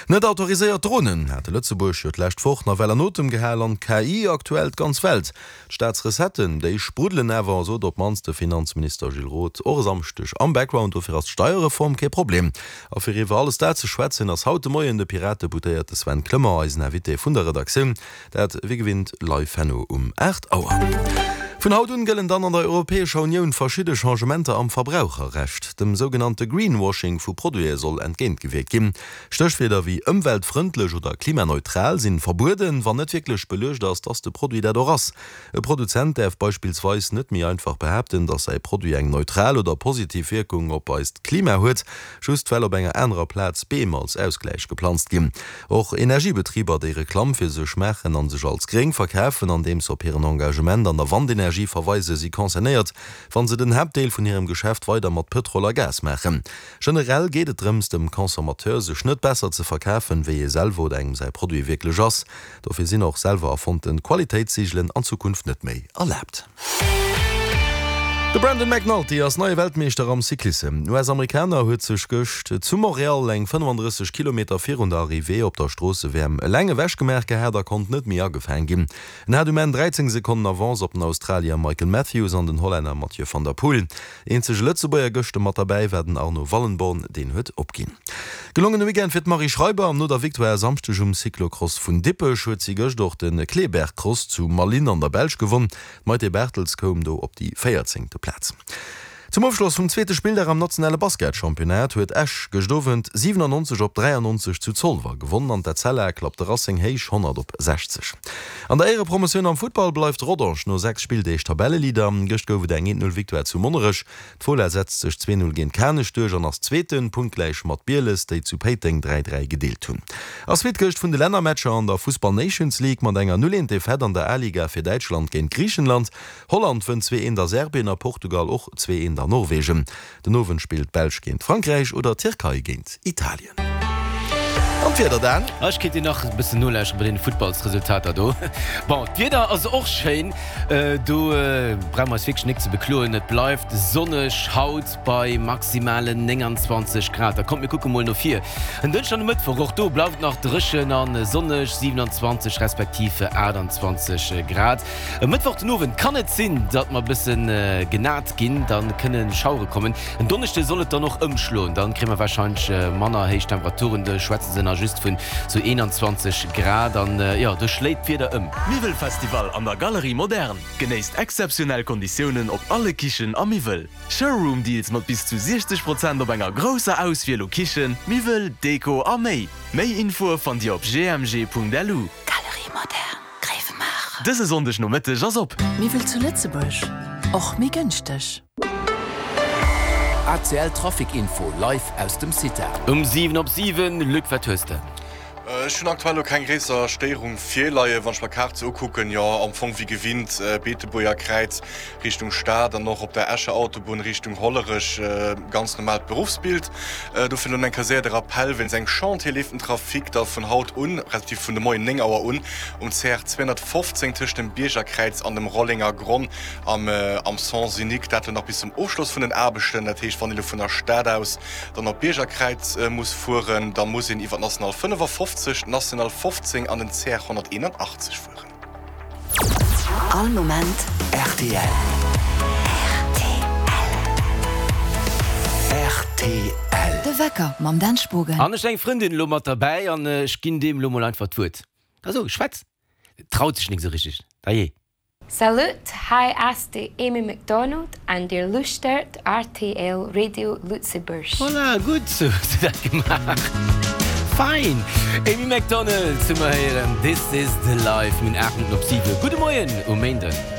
Net autoriséiert Dronen hate Lëtzebuerg jo d'lescht Woch nawell an Otem gehal an d'KI aktuell d'ganz Welt. D'Staatsrecetten, déi spruddelen awer, sot op d'mannst de Finanzminister Gilles Roth och e Samschdeg am Background. Dofir ass d'Steierreform kee Problem. A fir iwwer alles dat ze schwätzen, ass haut de Moien de Piratedeputéierte Sven Clement eisen Invité vun der Redaktioun. Dat wéi gewinnt live herno um 8 Auer. Vun haut un gëllen dann an der Europäescher Unioun verschidde Changementer am Verbraucherrecht. Dem sougenannte Greenwashing vu Produite soll entgéintgewierkt ginn. Stéchwierder wéi ëmweltfrëndlech oder klimaneutral sinn verbueden, wann net wierklech beluecht ass, dass de Produit dat och ass. E Produzent däerf beispillsweis net méi einfach behaapten, dass säi Produit eng neutral oder positiv Wierkung op eist Klima huet, just well op enger anerer Plaz Beem als Ausgläich geplanzt ginn. Och Energiebetriber, déi Reklamm fir sech maachen an sech als gréng verkafen, andeems se op hiren Engagement an der Wandenergie verweisen, si concernéiert, wa se den Haaptdeel vun hirem Geschäft weider mat Pëtrol a Gas maachen. Generell geet et drëms, dem Consommateur sech net besser ze verkafen, wéi ee selwer oder engem säi Produit wierklech ass. Dofir sinn och selwer erfonnten Qualitéitssiegelen an Zukunft net méi erlaabt. De Brandon McNulty ass neie Weltmeeschter am Cyclissem. Den US-Amerikaner huet sech gëscht zu Montréal eng 35 Kilometer virun der Arrivée op der Stroosse-WM eleng ewechgemaach gehat a konnt net méi agefaang ginn. En hat um Enn 13 Sekonnen Avance op den Australier Michael Matthews an den Hollänner Mathieu van der Poel. Eenzege Lëtzebuerger gëschter mat derbäi war den Arno Wallenborn, deen huet opginn. Gelongene Weekend fir d'Marie Schreiber. No der Victoire e Samschdeg um Cyclocross vun Dippech huet si gëscht och de Kleeberg-Cross zu Malines an der Belsch gewonn. D'Maïté Barthels koum do op déi véierzéngte Plaz. Zum Ofschloss vum zweete Spilldag am nationale Basketchampionnat huet Esch gëscht Owend 97 op 93 zu Zolwer gewonnen an d'Etzella klappt de Racing héich 100 op 60. An der Éierepromotioun am Futtball bleift Rodange no 6 Spilldeeg Tabelleleader. Gëscht gouf et eng 1, 0 Victoire zu Monnerech. D'Fola setzt sech 2, 0 géint Kanech duerch an ass Zweeten, punktgläich mat Bieles, déi zu Péiteng 3, 3 gedeelt hunn. Ass Suite gëscht vun de Lännermatcher an der Fussball Nations League mat enger 0, 1 Defaite an der A-Liga fir Däitschland géint Griichenland. Holland wënnt 2, 1 a Serbien a Portugal och 2, 1 a Norwegen. Den Owend spillt d'Belsch géint Frankräich oder d'Tierkei géint Italien. An d'Wieder Dan? Ech kéint dir nach e bëssen nolauschteren bei deene Futtballsresultater do. Bon, d'Wieder ass och schéin, do brauche mer eis wierklech nik ze bekloen. Et bleift sonneg haut bei maximalen 29 Grad. Da kommt mir kucke mol no vir en Dënschden an e Mëttwoch, och do bleift et nach dréchen a sonneg, 27 respektiv 28 Grad. E Mëttwoch den Owend kann et sinn, datt mer e bësse genat ginn, da kënne Schauere kommen. En Donneschde soll et dann och ëmschloen, da kréie mer warscheinlech manner héich Temperaturen, do schwätze se nach just vun sou 21 Grad an jo, do schléit d'Wieder ëm. Miwwelfestival an der Galerie Moderne! Genéisst exzeptionell Konditiounen op alle Kichen a Miwwel. Showroom Deals mat bis zu 60 Prozent op enger grousser Auswiel u Kichen, Miwwel, Deko a méi. Méi Infoe fannt Dir op gmg.lu. Galerie Moderne. Gréiwemaacher. Dëse Sonndeg Nomëtteg ass op. Miwwel zu Lëtzebuerg, och méi gënschteg. ACL Trafic Info live aus dem CITA. Um 7 op 7, Luc, wat hues de? Ech hunn aktuell lo keng gréisser Stéierung virleien. Wann ech mer d'Kaart sou ukucken, jo am Fong wéi gewinnt Beetebuerger Kräiz Richtung Stad an och op der Escher Autobunn Richtung Hollerech ganz normaalt Beruffsbild. Dofir elo eng Kéier séier de Rappell, Wéinst engem Chantier leeft den Trafic da vun haut un, respektiv vun de Moien 9 Auer un, um CR 215 tëscht dem Biergerkräiz an dem Rollenger Gronn am am Sens unique. Dat elo nach bis zum Ofschloss vun den Aarbechten. Dat heescht, wann ee elo vun der Stad aus dann op d'Biergerkräiz muss fueren, da muss een iwwer d'National 55, d'National 15 an den CR 181 fueren. All Moment rtl. Rtl. De Wecker mam Dan Spogen. An ech hunn eng Frëndin elo mat derbäi an ech ginn deem elo mol einfach d'Wuert. Da so, schwätz! Traut sech nik esou richteg. Dajee. Salut, hei ass de Amy McDonald an dir lauschtert rtl Radio Lëtzebuerg. Voilà, gutt hues de dat gemaach. Fein! Amy McDonald hu mer héieren, This is the life. Mir hunn 8 Minutten op 7. Gudde Moien um Méinden.